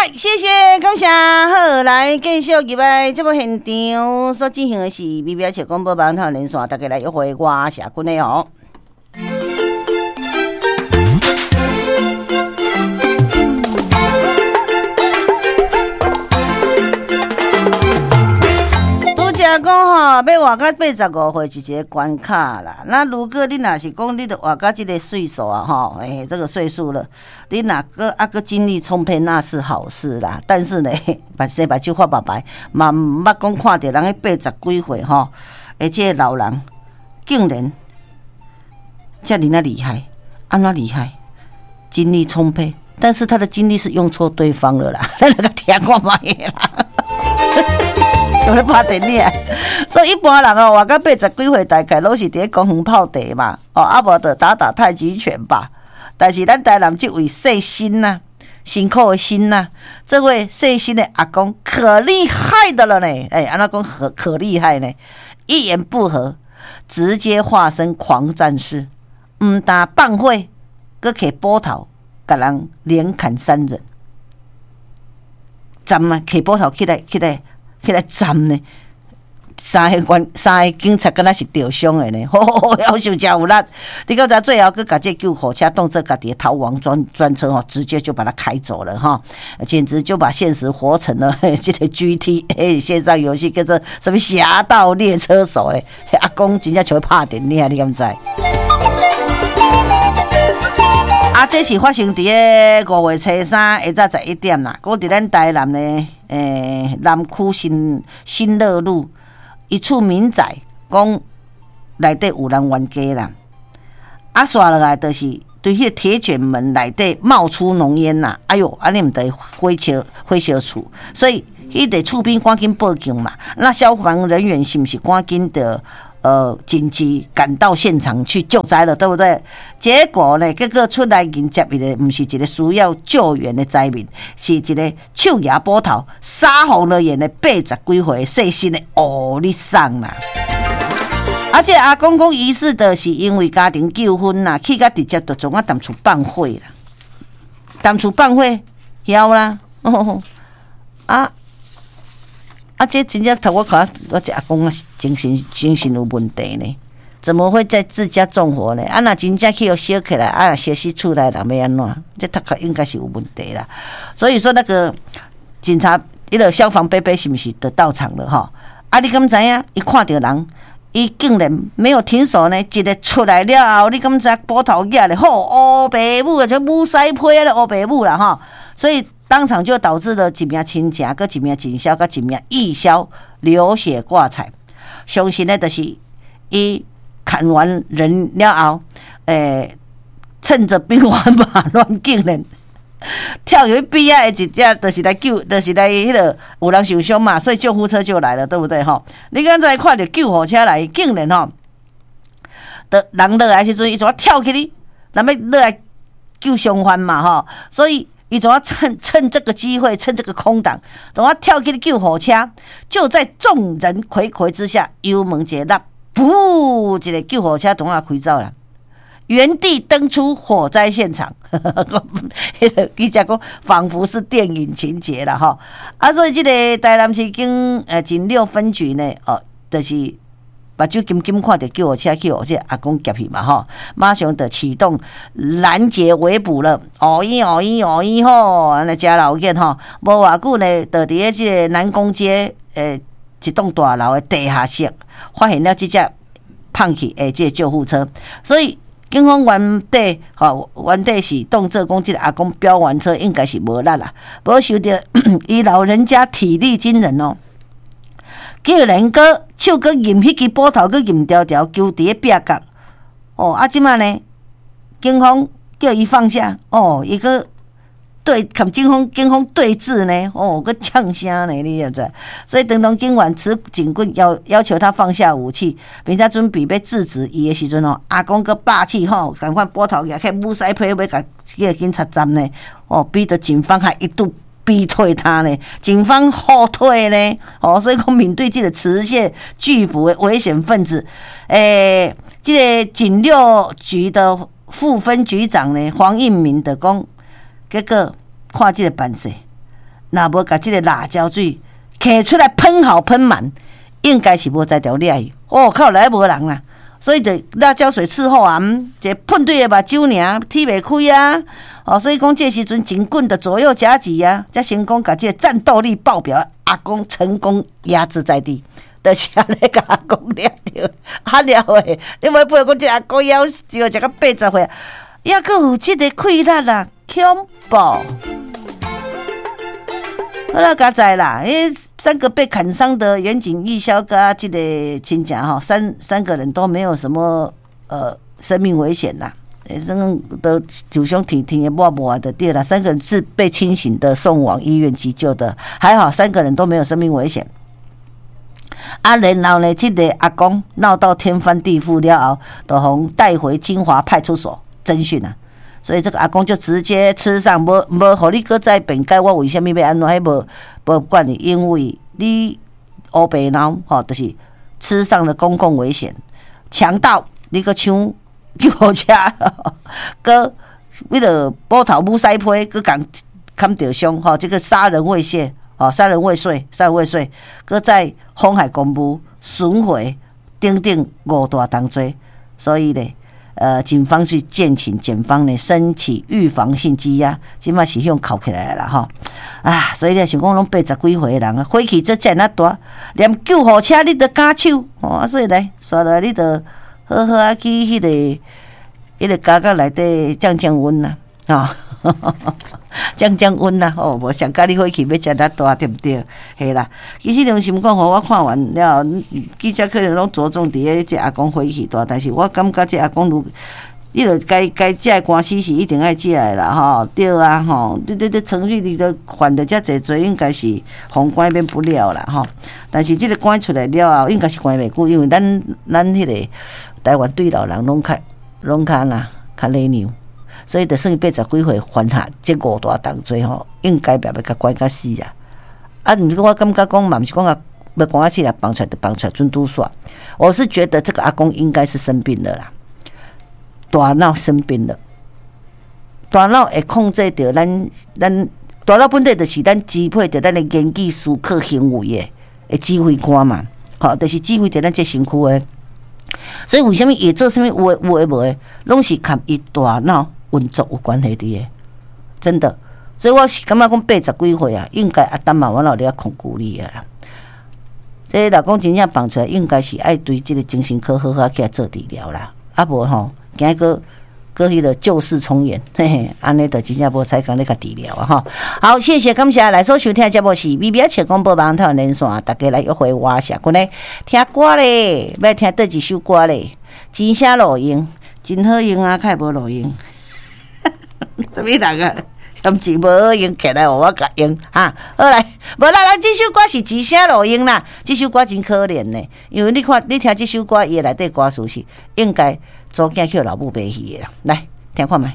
來，謝謝，感謝，好，來繼續入來節目現場所進行的是 BBS 廣播網頭連線，大家來約會我謝君的哦。拄才講吼，欲活到85歲是一個關卡啦。那如果你若是講你著活到這個歲數啊，吼，欸，這個歲數了，你若閣啊閣精力充沛，那是好事啦。但是呢，目生目睭發白白，嘛毋捌講看著人彼80幾歲吼，欸，這個老人竟然遮爾仔厲害，按怎厲害？精力充沛，但是他的精力是用錯對方了啦。咱來共聽看覓啦。就咧拍電影，所以一般人哦，活到80幾歲，大概攏是佇咧公園泡茶嘛，哦，啊無就打打太極拳吧。但是咱台南這位姓辛吶，辛苦的辛吶，這位姓辛的阿公可厲害的了呢。欸，按怎講可可厲害呢？一言不合，直接化身狂戰士，毋但放火，閣提斧頭，共人連砍三人。斬啊，提斧頭起來起來起來斬呢，三個警察敢若是著傷的呢，吼，夭壽誠有力。你敢知最後閣共這救護車當做家己的逃亡專車吼，直接就把它開走了哈，簡直就把現實活成了這個 GTA 線上遊戲叫做什麼俠盜獵車手咧，阿公真正像咧拍電影，你敢知？啊，這是發生佇咧5月初三下晝11點啦，閣佇咱台南的南區新樂路一處民宅，講內底有人冤家啦。啊，紲落來就是對彼個鐵捲門內底冒出濃煙啦。哎喲，按呢毋著火燒厝，所以彼個厝邊趕緊報警嘛。那消防人員是毋是趕緊著緊急趕到現場去救災了，對不對？結果呢，結果出來迎接伊的，毋是一個需要救援的災民，是一個手舉斧頭、殺紅了眼的80幾歲細心的烏日桑啦。啊，這個阿公講疑似的是因為家庭糾紛啦，氣甲直接就創啊踮厝放火啦，踮厝放火，曉啦，啊。啊！這真正頭我看，我這阿公啊，精神有問題呢？怎麼會在自家縱火呢？啊，若真正去予燒起來，啊，若燒死厝內人欲按怎？這頭殼應該是有問題啦。所以說，那個警察，彼個消防伯伯是毋是就到場了吼？啊，你敢知影？伊看著人，伊竟然沒有停手呢！一個出來了後，你敢知斧頭舉咧？吼，烏白母啊，像武師批啊，烏白母啦吼！所以。當場就導致了一名親情，閣一名警消，閣一名義消流血掛彩。相信呢，就是伊砍完人了後，趁著兵荒馬亂，竟然跳入去邊仔的一隻，就是來救，就是來彼個有人受傷嘛，所以救護車就來了，對不對？吼，你敢知看著救護車來，竟然吼，就人落來時陣，伊就跳起去，若欲落來救傷患嘛，吼，所以。伊總要趁這個機會，趁這個空檔，總要跳起救護車。就在眾人睽睽之下，油門一落，噗！一個救護車總要開走了，原地登出火災現場。彼個記者講，仿佛是電影情節啦，吼！啊，所以這個台南市警六分局呢，哦，就是目睭金金看著救護車去予這阿公劫去嘛吼，馬上就啟動攔截圍捕了。哦咦哦咦哦咦吼，按呢誠老緊吼，無偌久呢，就佇咧這個南宮街一棟大樓的地下室，發現了這隻放去的這個救護車。所以警方原底吼，原底是當做講這個阿公飆完車應該是無力啦，無想著伊老人家體力驚人哦。竟然閣手閣揜彼支斧頭，閣揜牢牢，揪佇咧壁角。哦，啊，這擺呢，警方叫伊放下，哦，伊閣對共警方對峙呢，哦，閣嗆聲呢，你知毋知？所以當當警員持警棍要求他放下武器，並且準備欲制止伊的時陣哦，阿公閣霸氣吼，共款斧頭舉起武師批欲共這個警察斬呢，哦，逼得警方還一度逼退他呢，警方後退呢，哦，所以講面對這個持械拒捕的危險分子，這個警六局的副分局長呢，黃應明就講，結果看這個辦勢，若無共這个辣椒水揢出來噴好噴滿，應該是無才調掠去。哦，靠來無人啦，所以就辣椒水伺候啊，一個噴對个目睭爾，睇袂開啊。哦，所以講這時陣警棍的左右夾擊啊，才成功共這个戰鬥力爆表阿公成功壓制在地。就是按呢共阿公掠著，啊了的，你袂配講這阿公夭壽，食到80歲，抑閣有這个氣力啊，恐怖！好啦，佳哉啦，彼三個被砍傷的岩井義孝佮這个親戚吼，三個人都沒有什麼生命危險啦，生都受傷挺挺的抹抹的對啦，三個人是被清醒的送往醫院急救的，還好三個人都沒有生命危險。啊，然後呢，這个阿公鬧到天翻地覆了後，就予帶回金華派出所偵訊啊。所以這個阿公就直接吃上，無無，予你閣再辯解，我為啥物欲按怎？彼無無管你，因為你烏白鬧吼，就是吃上了公共危險，強盜，你閣搶救護車，閣為了斧頭母屎批，閣共砍著傷吼，這個殺人未遂，吼，殺人未遂，殺人未遂，閣再妨害公務、損毀等等五大重罪，所以咧，警方是建請檢方呢申請預防性羈押，這馬是向銬起來啦吼。啊，所以咧想講攏80幾歲的人啊，火氣這遮爾大，連救護車你都敢搶，吼啊！所以來，煞落來你就好好啊去彼個監獄內底降降溫啦，吼，降降溫啦，吼，無想佮你火氣欲遮爾大，對毋對？嘿啦，其實良心講吼，我看完了後，記者可能攏著重佇咧這阿公火氣大，但是我感覺這阿公如，你著該該食的官司是一定愛食的啦，吼，對啊，吼，你這程序你都犯著遮濟罪，應該是予關免不了啦，吼。但是這个關出來了後，應該是關袂久，因為咱彼個台灣對老人攏較哪較禮讓，所以就算80幾歲犯下這五大重罪吼，應該也欲共關甲死啊。啊，毋過我感覺講嘛，毋是講啊，欲關甲死啦，放出來就放出來，準拄煞。我是覺得這個阿公應該是生病了啦。大腦生病了，大腦會控制著咱大腦本底就是咱支配著咱的言語、思考、行為的指揮官嘛，吼，就是指揮著咱這身軀的。所以為啥物伊會做啥物有的有的無的，攏是佮伊大腦運作有關係佇的，真的。所以我是感覺講80幾歲啊，應該阿擔嘛，我老咧控制你啊啦。這若講真正放出來，應該是愛對這个精神科好好起來做治療啦。啊無吼，驚閣閣彼个舊事重演，嘿嘿，按呢就真正無彩工咧共治療啊吼。好，謝謝感謝來所收聽的節目是 B B 仔笑廣播網台連線，大家來約會我謝君咧聽歌咧，欲聽佗一首歌咧？真聲路用，真好用啊，較會無路用。啥物人啊？嫌錢無好用，起來予我共用哈。好來，無啦，咱這首歌是一聲路用啦。這首歌真可憐呢，因為你看，你聽這首歌，伊的內底歌詞是應該查某囝去予老母賣去的啦。來聽看覓。